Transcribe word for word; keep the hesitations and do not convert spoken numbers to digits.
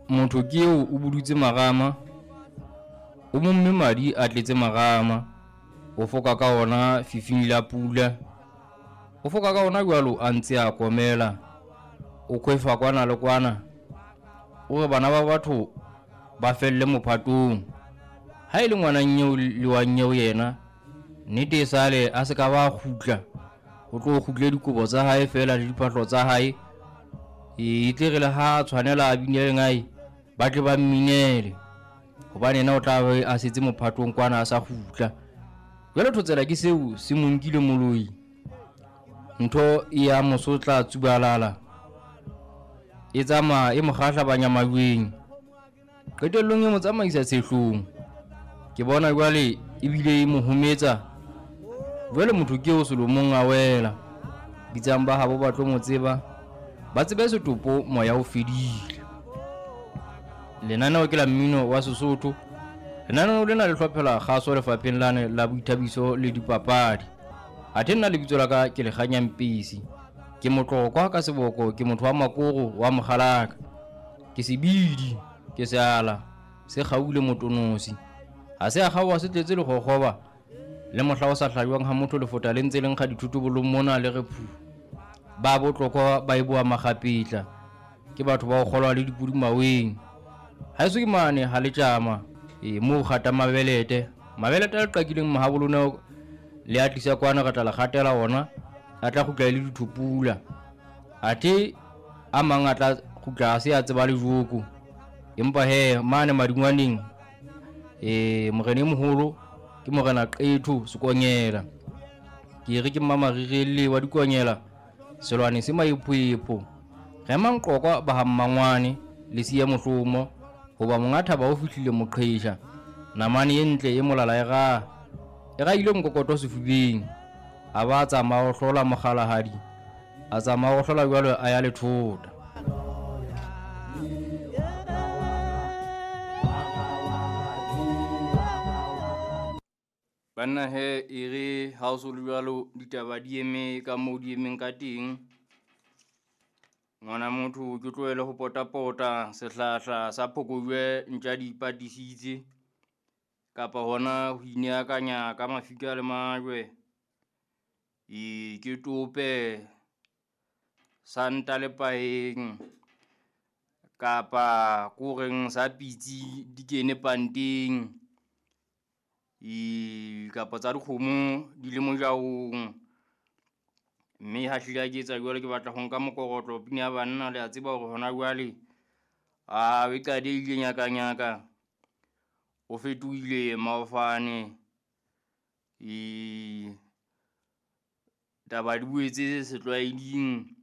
Motho ke eo o budutse marama, o momme madi a tletse marama, o foka ka ona fifing la pula. O foka ka ona jwalo a ntse a komela, o kwefa kwana le kwana. O re bana ba batho ba felle mophatong. Ha e le ngwana nyeo le wa nyeo yena, nnete e sale a se ka ba kgutla. O tlo kgutle dikobo tsa hae feela le diphahlo tsa hae. E tle re le ha tshwanela a binele ngae, ba tle ba mminele. Hobane yena o tla be a setse mophatong kwana a sa kgutla. Jwale thotsela ke seo se mo nkile moloi. Ntho e ya mosotla tsubalala. E tsamaya e mo kgahlabanya majweng. Qetellong e mo tsamaisa tshehlong. Ke bona jwale ebile e mo hometsa. Jwale motho ke eo selomong a wela. Bitsang ba habo ba tlo mo tseba. Ba tsebe setopo moya o fedile. Lenaneo ke la mmino wa Sesotho. Lenaneo lena le hlophela kgaso lefapheng lane la boithabiso le dipapadi. Athe nna lebitso la ka ke Lekganya Mpisi. Ke motlokwa ka seboko, ke motho wa makoro wa mokgalaka. Ke sebidi, ke seala, se kgaule motonosi. Ha se a kgaoha se tletse lekgokgoba. Le mohla o sa hlajwang ha motho lefota le ntse le nkga dithotobolong mona le re phu. Ba botlokwa ba e boa makgapetla. Ke batho ba ho kgolwa le dipudi maweng. Haeso ke mane ha le tjama, e moo kgata mabelete. Mabelete a le qakileng mahabolona le a tlisa kwana re tla le kgatela ona, a tla kgutla e le dithopula. Athe a mang a tla kgutla a se a tseba le joko. Empa he mane madingwaneng, eh morena e moholo ke morena Qetho Sekonyela. Ke re ke mmamarire wa dikonyela, selwane se maephoepho. Re manqokwa ba ha mmangwane le siya mohlomo, hoba monga thaba o fihlile moqhesha. Namane e ntle e molala e raha, e rahile nkokoto sefubeng. A ba tsamaya ho hlola mokgalahadi, a tsamaya ho hlola jwalo a ya lethota. Banna he e re ha o so le jwalo ditaba di eme ka moo di emeng ka teng. Ngwana motho ke tlohele ho potapota sehlahla sa phokojwe ntja di ipatisitse, kapa hona ho ineakanya ka mafika le majwe. E ke tope santa le paeng kapa koreng sa pitsi di kene panteng. E kapa tsa dikgomo di le mojaong. Mme ha hlile ha ke etsa jwalo ke batla ho nka mokorotlo pina ya banna le a tseba hore hona jwale a e qadehile nyaka nyaka. O fetohile maofane. E taba di boetse setlwaeding.